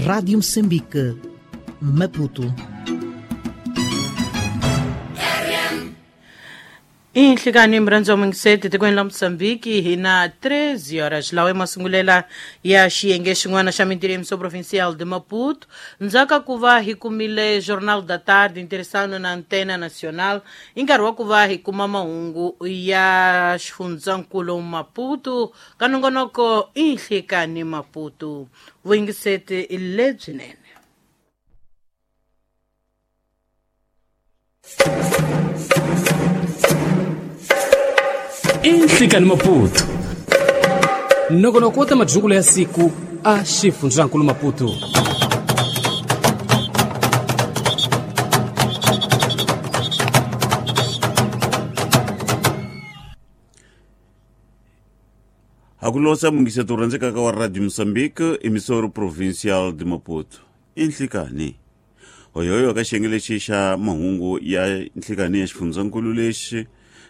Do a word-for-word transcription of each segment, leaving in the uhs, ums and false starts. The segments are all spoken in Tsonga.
Rádio Moçambique, Maputo. Inhlikani mrhandzo mingiseti tikweni la Mozambique hi na treze horas lawa masungulela ya xiyenge xin'wana xa mintirho ya mso provincial de Maputo ndzhaku ku va hi kumile Jornal da Tarde ntirhisano na Antena Nacional i nkarhi wa ku va hi kuma mahungu ya xifundzankulu Maputo ka nongonoko Inhlikani Maputo vuyingiseti lebyinene. Inhlikani Maputo nongonoko wa majungula ya siku a xifundzankulu Maputo. Hakulosa mungiseto rhandzekaka wa Radio Moçambique emissora provincial de Maputo. Inhlikani hoyoyo ka xiyenge lexi xa mahungu ya nhlikani ya xifundzankulu lexi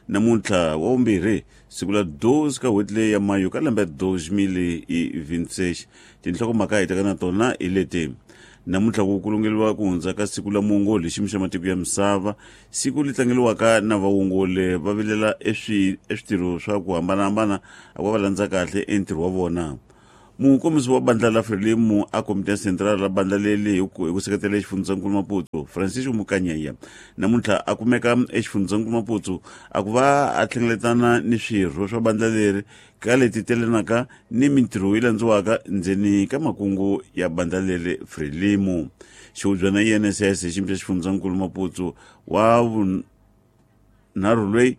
namuntlha wa vumbirhi siku la doze ka n'hweti leyi ya mayo ka lembe dois mil e vinte e seis. Tinhlokomhaka hi teka na tona hi leti: namuntlha ku kulungeliwa ku hundza ka siku la muongoli xiyimo xa matiko ya misava, siku li tlangeliwaka na vaongoli va vilela eswitirho swa ku hambanahambana a ku va landza kahle entirho wa vona. Mukomisi wa bandla la Frelimo a komiti ya central la bandla leli hi ku seketela exifundzankulu Maputo Francisco Mukanyaya namuntlha a kumeka exifundzankulu Maputo a ku va a hlengeletana ni swirho swa bandla leri ka leti telenaka ni mintirho yi landziwaka ndzeni ka makungu ya bandla leri Frelimo. Xihubyana I N S S xiyimo xa xifundzankulu Maputo wa vunharhu loyi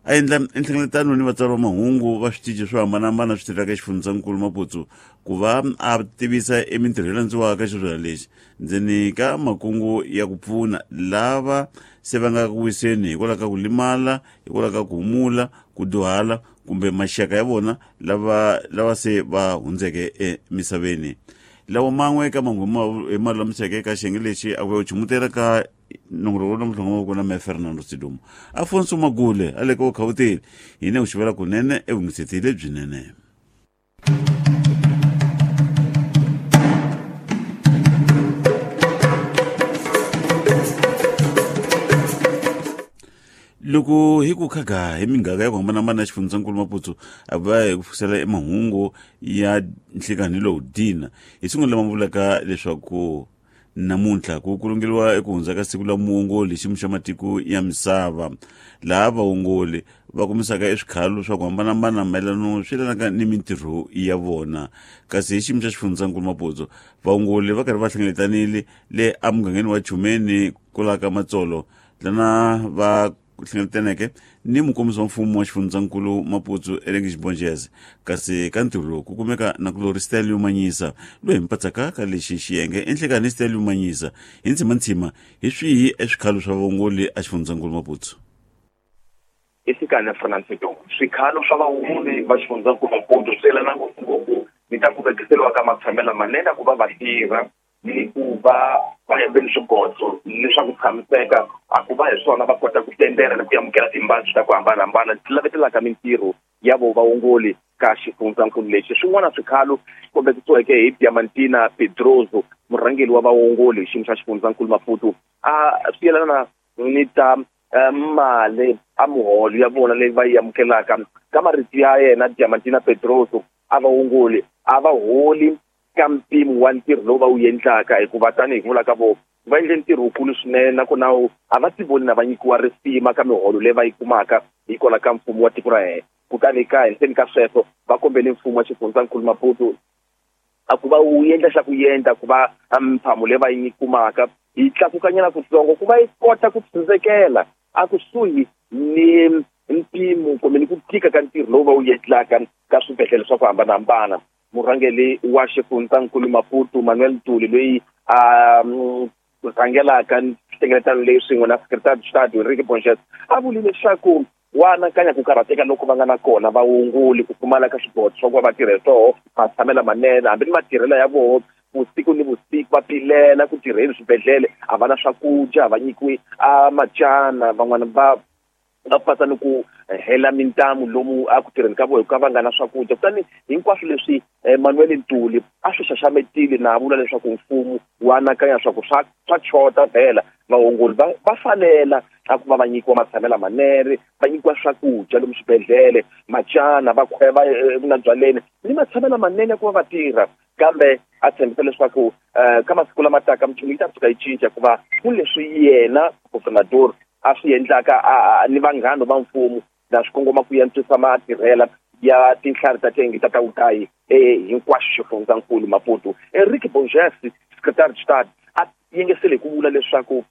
a endla nhlengeletano ni vatsari va mahungu va switichi swo hambanahambana swi tirhaka exifundzankulu Maputo ku va a tivisa emintirho yo landziwaka xiswona lexi ndzeni ka makungu ya ku pfuna lava se va nga ku wiseni hikwalaho ka ku limala, hikwalaho ka ku humula, ku dyuhala kumbe maxaka ya vona lava lava se va hundzeke emisaveni. Lawa man'we ka mahungu hi ma lulamiseke eka xiyenge lexi a ku ya u chumutela ka nongonoko namuntlha wa kona me Fernando Sidumo Afonso Magule a le ka Gauteng hina ku xivela kunene evungiseti lebyinene. Loko hi ku khaga hi mingaka ya ku hambanahambana ya xifundzankulu Maputo a va hi ku fikisela emahungu ya nhlikani lowu dina hi sungula lama vulaka leswaku namuntlha ku kulungeliwa eku hundza ka siku la muongoli xiyimo xa matiko ya misava laha vaongoli va kumisaka eswikhalo swa ku hambanahambana mayelano swi yelanaka ni mintirho ya vona. Kasi hi xiyimo xa xifundzankulu Maputo vaongoli va karhi va hlengeletanile le emugangeni wa Chumeni kwala ka Matsolo lana va hlengeletaneke ni mukomisi wa mfumo wa xifundzankulu Maputo Elengi Xibonjeze. Kasi ka ntirho lowu ku kumeka na kulori Stelio Manyisa loyi hi mpatsaka ka lexi xiyenge enhlekani Stelio Manyisa hi ntsimantsima hi swihi eswikhalo swa vaongoli a xifundzankulu Maputo. Exikarhi Fernando Sidumo, swikhalo swa vaongoli va xifundzankulu Maputo swi yelana ngopfungopfu ni ta ku vekiseriwa ka matshamelo lamanene ku va va tirha ni ku va va hembeni swigotso leswaku tshamiseka a ku va hi swona va kota ku tendela ni ku amukela timbangi ta ku hambanahambana ti lavetelaka mintirho ya vo vaongoli ka xifundzankulu lexi. Swin'wana swikhalo kombekisiweke hi Diamantina Pedroso murhangeri wa vaongoli hi xiyimo xa xifundzankulu Maputo a swi yelana ni ta mali a muholo ya vona leyi va yi amukelaka. Ka marito ya yena Diamantina Pedroso a vaongoli a va holi ka mpimo wa ntirho lowu va wu endlaka hikuva tanihi ku vula ka vona va endle ntirho wukulu swinene nakona a va tivoni na va nyikiwa risima ka miholo leyi va yi kumaka hikwalaho ka mfumo wa tiko ra hina. Kutani ka henhleni ka sweswo va kombele mfumo wa xifundzankulu Maputo a ku va wu endla xa ku endla ku va mphamo leyi va yi kumaka yi tlakukanyana kutsongo ku va yi kota ku tshundzekela a kusuhi ni mpimo kumbe ni ku tika ka ntirho lowu va wu endlaka ka swibedhlele swa ku hambanahambana. Murhangeri wa xifundzankulu Maputo Manuel Ntuli loyi a rhangelaka nhlengeletano leyi swin'we na Secretary of State Enrique Bonges a vule leswaku wa anakanya ku karhateka loko va nga na kona vaongoli ku pfumala ka swiboho swa ku va va tirha hi swoho matshamelo lamanene hambi ni matirhelo ya vona vusiku ni vusiku va pilela ku tirheni swibedhlele a va na swakudya a va nyikiwi a macana van'wana va Va patsa ni ku hela mintamu lomu a ku tirheni ka vona ka va nga na swakudya. Kutani hinkwaswo leswi Manuel Ntuli a swi xaxametile na vula leswaku mfumo wu anakanya swa ku swa swa chota vhela vaongori va va fanela a ku va va nyikiwa matshamelo manene, va nyikiwa swakudya lomu swibedhlele, macana va khweva na byaleni ni matshamelo manene ku va va tirha. Kambe a tshembisa leswaku ka masiku lama taka minchumu yi ta tshuka yi cinca ku va ku leswi yena governador a swi endlaka ni vanghana va mfumo na swi kongoma ku antswisa matirhela ya tintlhari ta tengita ta utayi hinkwaswo xifundzankulu Maputo. Enrique Borges, secretary de Estado, a yengesele ku vula leswaku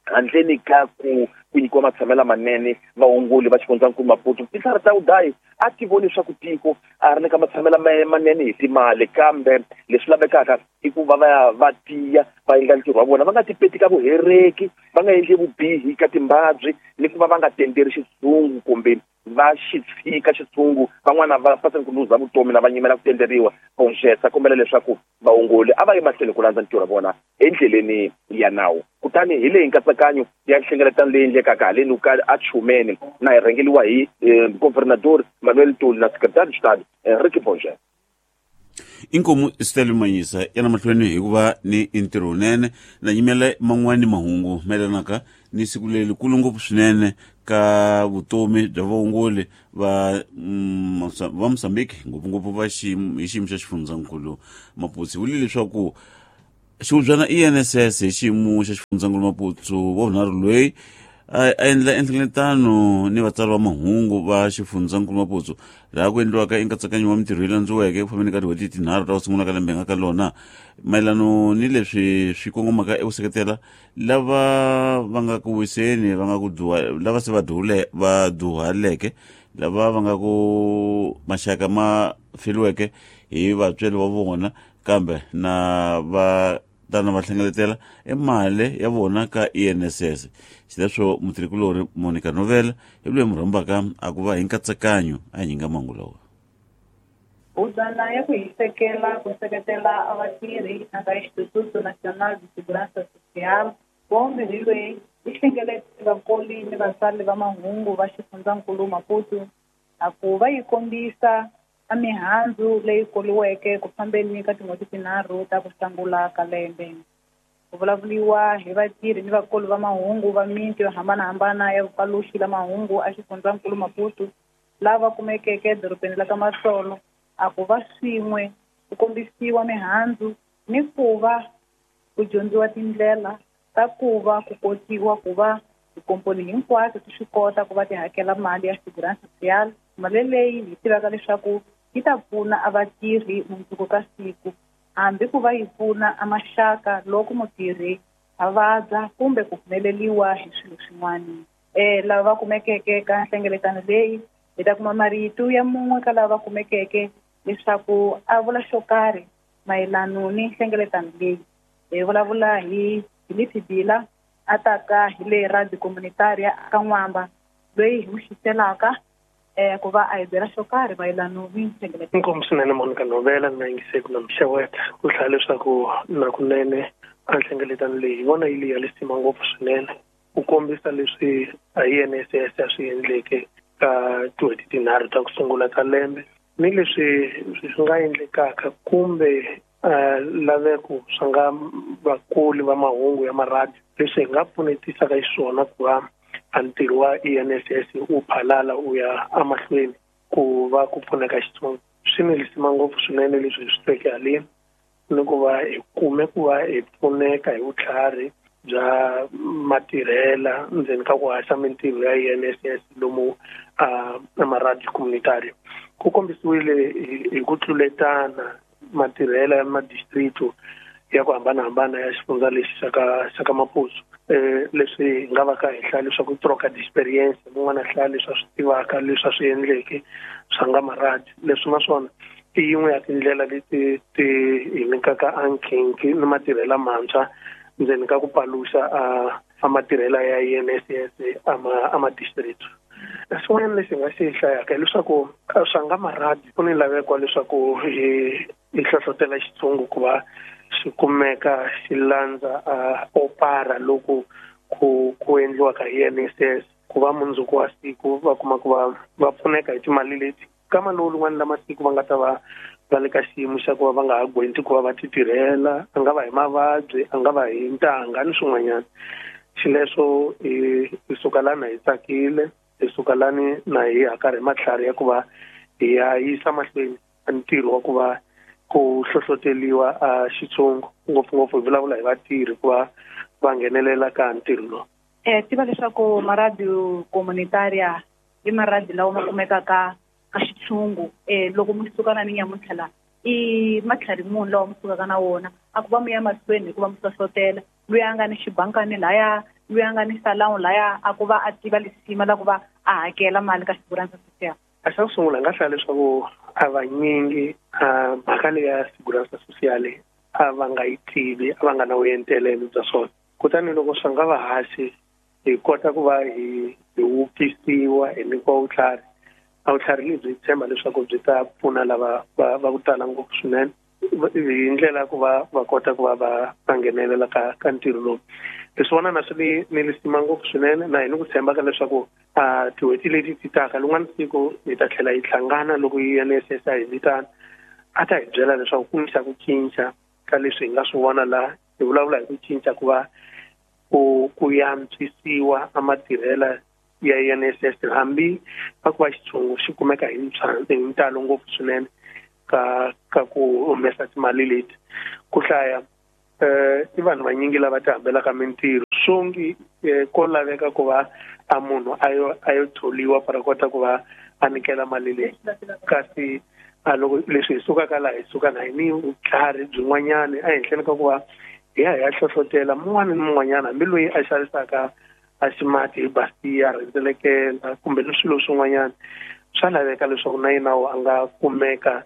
handleni ka ku ku nyikiwa matshamelo manene vaongoli va xifundzankulu Maputo, tintlhari ta udayi a ti voni leswaku tiko a ri ni ka matshamelo manene hi timali, kambe leswi lavekaka i ku va va va tiya va endla ntirho wa vona, va nga tipeti ka vuhereki, va nga endli vubihi ka timbabyi, ni ku va va nga tenderi xitshungu kumbe va xi tshika xitshungu. Van'wana va patsa ku luza vutomi na va nyimela ku tenderiwa. Borges a kombela leswaku vaongoli a va yi mahlweni ku landza ntirho wa vona endleleni ya nawu. Kutani hi leyi nkatsakanyo ya nhlengeletano leyi endlekaka haleni ka achumeni na hi rhangeliwa hi governador Manuel Ntuli na secretary de Estado Enrique Borges. Inkomu Stella Manyisa yana mahlweni hikuva ni ntirho wunene na nyimela man'wani mahungu mayelanaka ni siku lerikulu ngopfu swinene ka vutomi bya vaongoli va va Mozambique, ngopfungopfu va xiyimo hi xiyimo xa xifundzankulu Maputo. Vule leswaku xihubyana E N S S hi xiyimo xa xifundzankulu Maputo wa vunharhu loyi a endla nhlengeletano ni vatsari va mahungu va xifundzankulu Maputo laha ku endliwaka enkatsakanyo wa mintirho yi landziweke eku fambeni ka tin'hweti tinharhu ta ku sungula ka lembe nga ka lona mayelano ni leswi swi kongomaka eku seketela lava va nga ku wiseni, va nga ku duha, lava se va duhule va duhaleke, lava va nga ku maxaka ma feliweke hi vatswari va vona, kambe na va tana va hlengeletela emali ya vona ka E N S S. Xileswo mutirhikulori Monica Novela hi loyi mu rhambaka a ku va hi nkatsakanyo a nyinga mangu lawa. Hubyana ya ku hisekela ku seketela vatirhi na ka Instituto Nacional de Segurança Social bombe hi loyi yi hlengelete vakoli ni vatsari va mahungu va xifundzankulu Maputo a ku va yi kombisa a mihandzu leyi koliweke ku fambeni ka tin'hweti tinharhu ta ku sungula ka lembe. Ku vulavuriwa hi vatirhi ni vakoli va mahungu va miti yo hambanahambana ya vupaluxi la mahungu a xifundzankulu Maputo lava kumekeke edorobeni la ka Masolo a ku va swin'we ku kombisiwa mihandzu ni ku va ku dyondziwa tindlela ta ku va ku kotiwa ku va tikomponi hinkwato ti swi kota ku va ti hakela mali ya Segurança Social, mali leyi hi tivaka leswaku yi ta pfuna a vatirhi mundzuku ka siku, hambi ku va yi pfuna a maxaka loko mutirhi a vabya kumbe ku humeleliwa hi swilo swin'wana. Um lava va kumekeke ka nhlengeletano leyi hi ta kuma marito ya mun'we ka lava va kumekeke leswaku a vula xo karhi mayelano ni nhlengeletano leyi. Hi vulavula hi Filipe Bila a taka hi le Radio Comunitaria ka N'wamba loyi hi n'wi xiselaka eh ku va a hi byela xo karhi mayelano ni nhlengeletano. Inkomu swinene Monica Novela na yingiseki na mixeweta ku hlaya leswaku na kunene a nhlengeletano leyi hi vona yi leyi ya lisima ngopfu swinene ku kombisa leswi a E N S S a swi endleke ka tin'hweti tinharhu ta ku sungula ta lembe ni leswi swi nga endlekaka kumbe laveko swa nga vakoli va mahungu ya maradiyo leswi hi nga pfunetisaka xiswona ku va a ntirho wa E N S S wu phalala wu ya emahlweni ku va ku pfuneka xitsongo. Swi ni lisima ngopfu swinene leswi hi swi tweke haleni ni ku va hi kume ku va hi pfuneka hi vutlhari bya matirhela ndzeni ka ku haxa mintirho ya E N S S lomu a maradiyo communitario. Ku kombisiwile hi ku tluletana matirhela ya madistrito ya ku hambanahambana ya xifundza lexi xa ka xa ka Maputo eh leswi hi nga va ka hi hlaya leswaku troca d'experience mun'wana a hlaya leswi a swi tivaka leswi a swi endleke swa nga maradi leswi naswona i yin'we ya tindlela leti ti hi nyikaka ankhinki ni matirhela mantshwa ndzeni ka ku paluxa a a matirhela ya E N S S a ma a madistrict. Xin'wana lexi hi nga xi hlayaka hileswaku swa nga maradi ku ni laveko leswaku hi hi hlohlotela xitshungu ku va xi kumeka xi landza a opara loko ku ku endliwaka hi E N S S ku va mundzuku wa siku va kuma ku va va pfuneka hi timali leti kama lowu lin'wana la masiku va nga ta va va le ka xiyimo xa ku va va nga ha gwenti ku va va ti tirhela, a nga va hi mavabyi, a nga va hi ntanga ni swin'wanyana. Xileswo hi hi suka lana hi tsakile, hi suka lani na hi hakarhi matlhari ya ku va hi ya yisa mahlweni ntirho wa ku va ku hlohloteliwa a xitshungu, ngopfungopfu hi vulavula hi vatirhi ku va va nghenelela ka ntirho lowu. Eh tiva leswaku maradiyo komunitaria i maradiyo lawa ma kumekaka ka xitshungu. Eh loko mi suka na nyamuntlha la i matlhari munhu lawa mi sukaka na wona a ku va mi ya mahlweni hikuva mi hlohlotela loyi a nga ni xibankani laya, loyi a nga ni salon laya, a ku va a tiva lisima la ku va a hakela mali ka Segurança Social. A xa ku sungula nga hlaya leswaku a vanyingi a mhaka leyi ya Segurança Social a va nga yi tivi, a va nga na vuentelelo bya swona. Kutani loko swi nga va haxi hi kota ku va hi hi wupfisiwa hi nyikiwa vutlhari. A vutlhari lebyi hi tshemba leswaku byi ta pfuna lava va va ku tala ngopfu swinene hi ndlela ya ku va va kota ku va va va nghenelela ka ka ntirho lowu. Leswi vona na swi ni ni lisima ngopfu swinene na hi ni ku tshemba ka leswaku a tin'hweti leti ti taka lin'wana siku hi ta tlhela hi hlangana loko yi N S S a hi vitana a ta hi byela leswaku ku xa ku cinca ka leswi hi nga swi vona laha hi vulavula hi ku cinca ku va ku ku antswisiwa a matirhela ya I N S S hambi va ku va xitshungu xi kumeka hi hi ntalo ngopfu swinene ka ka ku humesa timali leti. Ku hlaya eh i vanhu vanyingi lava ti hambelaka mintirho swongi ko laveka ku va a munhu a yo a yo tholiwa para kota ku va a nyikela mali leyi. Kasi a loko leswi hi sukaka laha hi suka na hi ni vutlhari byin'wanyana ehenhleni ka ku va hi ya hi ya hlohlotela mun'wana ni mun'wanyana hambi loyi a xavisaka a ximati hi basi a rhendzelekela kumbe ni swilo swin'wanyana swa laveka leswaku na yena a nga kumeka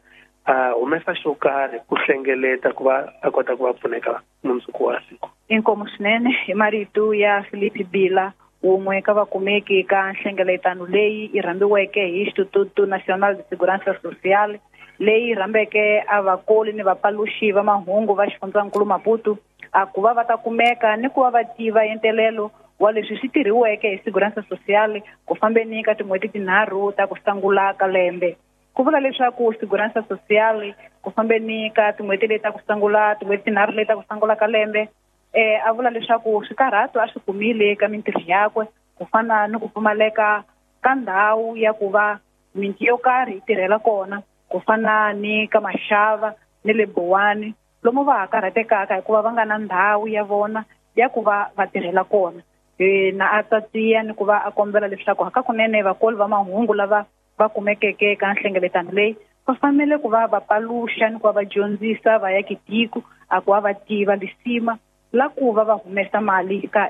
a humesa xo karhi ku hlengeleta ku va a kota ku va pfuneka mundzuku wa siku. Inkomu swinene hi marito ya Philip Bila, wun'we ka vakumeki ka nhlengeletano leyi yi rhambiweke hi Instituto Nacional de Segurança Social leyi rhambeke a vakoli ni vapaluxi va mahungu va xifundzankulu Maputo a ku va va ta kumeka ni ku va va tiva entelelo wa leswi swi tirhiweke hi Segurança Social ku fambeni ka tin'hweti tinharhu ta ku sungula ka lembe. Ku vula leswaku Segurança Social ku fambeni ka tin'hweti leti ta ku sungula tin'hweti tinharhu leti ta ku sungula ka lembe eh a vula leswaku swikarhato a swi kumile eka mintirho yakwe ku fana ni ku pfumaleka ka ndhawu ya ku va miti yo karhi yi tirhela kona ku fana ni ka Maxava ni le Bowani lomu va ha karhatekaka hikuva va nga na ndhawu ya vona ya ku va va tirhela kona. Na a tsatsiya ni ku va a kombela leswaku hakakunene vakoli va mahungu lava va kumekeke eka nhlengeletano leyi va fanele ku va va paluxa ni ku va va dyondzisa vaakitiko a ku va va tiva lisima la ku va va humesa mali ka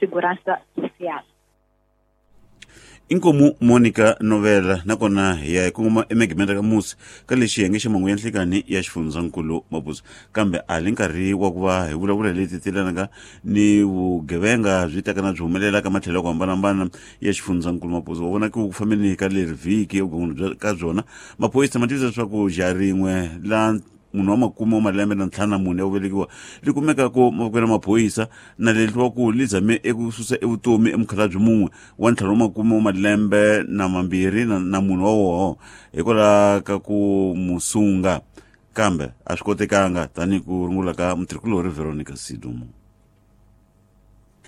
Segurança Social. Inkomu Monica Novela nakona hi ya hi kongoma emigimeta ka musi ka lexi xiyenge xa mahungu ya nhlikani ya xifundzankulu Maputo. Kambe a li nkarhi wa ku va hi vulavula leti telanaka ni vugevenga byi taka na byi humelela ka matlhelo ya ku hambanahambana ya xifundzankulu Maputo. Wa vona ku fambeni ka leri vhiki evugangwini ka byona maphorisa ma tivisa leswaku jaha rin'we la munhu wa makume wa malembe na ntlhanu na mune ya ku velekiwa li kumeka ku mavokweni ya maphorisa na leli ku li zame eku susa evutomi emukhalabye mun'we wa ntlhanu wa makume wa malembe na mambirhi na, na munhu wa woho hikwalaho ka ku musunga kambe a swi kotekanga tanihi ku rungula ka mutirhikulori Veronica Sidumo.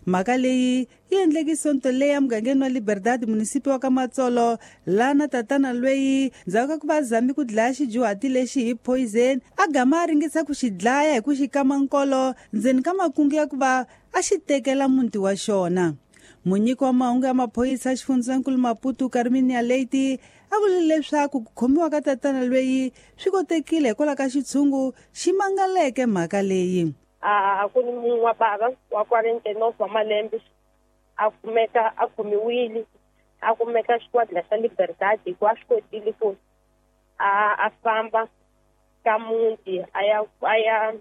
Mhaka leyi yi endleke sonto leyi emugangeni wa Liberdade munisipi wa ka Matsolo lana tatana lweyi ndzhaku ka ku va zami ku dlaya xidyuhati lexi hi poison a gama a ringesa ku xi dlaya hi ku xi kama nkolo ndzeni ka makungu ya ku va a xi tekela muti wa xona. Munyiki wa mahungu ya maphorisa xifundzankulu Maputo Carminia Leite a vule leswaku ku khomiwa ka tatana lweyi swi kotekile hikwalaho ka xitshungu xi mangaleke mhaka leyi. A ku ni munhu wa bava wa quarenta e nove wa malembe a kumeka a khomiwile a kumeka xikwadi xa Liberdade hikuva a swi kotile ku a a famba ka muti a ya a ya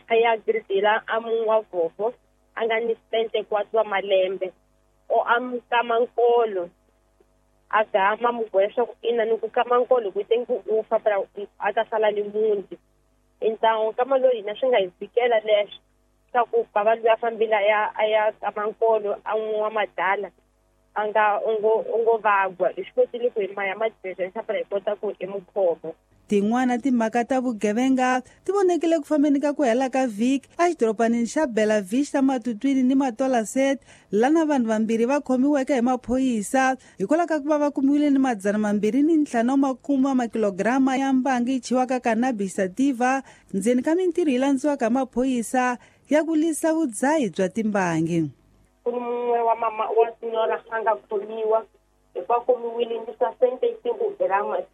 a ya gridela a munhu wa vhovho a nga ni setenta e quatro wa malembe o a mu kama nkolo a gama mu boha leswaku ina ni ku kama nkolo ku te ku u fa pra a ta sala ni muti. Então kama loyi hina swi nga hi fikela leswo swa ku bava loyi a fambile a ya a ya kama nkolo a n'wi wa madala a nga u ngo u ngo vagwa hi swi kotile ku hi maya madiresa xa hi kota ku i mukhomo. Tin'wana timhaka ta vugevenga ti vonekile ku fambeni ka ku hela ka vhiki exidorobanini xa Bela Vista Matutwini ni Matola Set lana vanhu vambirhi va khomiweke hi maphorisa hikwalaho ka ku va va kumiwile ni madzana mambirhi ni ntlhanu wa makume wa makilograma ya mbangi yi chiwaka cannabis sativa ndzeni ka mintirho yi landziwaka hi maphorisa ya ku lwisa vudzahi bya timbangi. Ku ni mun'we wa mama wa senyora a nga khomiwa hikuva khomiwile ni swa seventy grams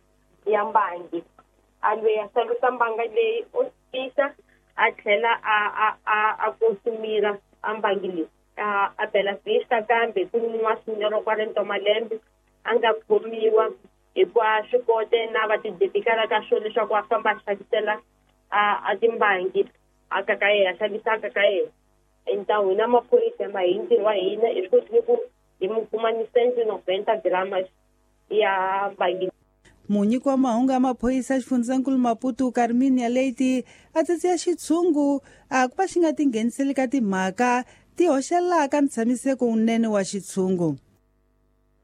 ya mbangi. A lweyi a xavisa mbanga leyi u tisa a tlhela a a a a konsumira a mbangi leyi a a Bela Vista. Kambe ku ni mun'we wa senyora quarenta malembe a nga khomiwa hikuva swi kote na va tidedikala ka swona leswaku a famba a xavisela a a timbangi a ka ka yena a xavisaka ka yena. Entawu hina maphorisa ma hi ntirho wa hina hi swi kotile ku hi mu kuma ni cent noventa grams ya mbangi. Munyiki wa mahungu ya maphorisa xifundzankulu Maputo Carminia Leite a tsatsiya xitshungu a ku va xi nga tingheniseli ka timhaka ti hoxelaka ntshamiseko wunene wa xitshungu.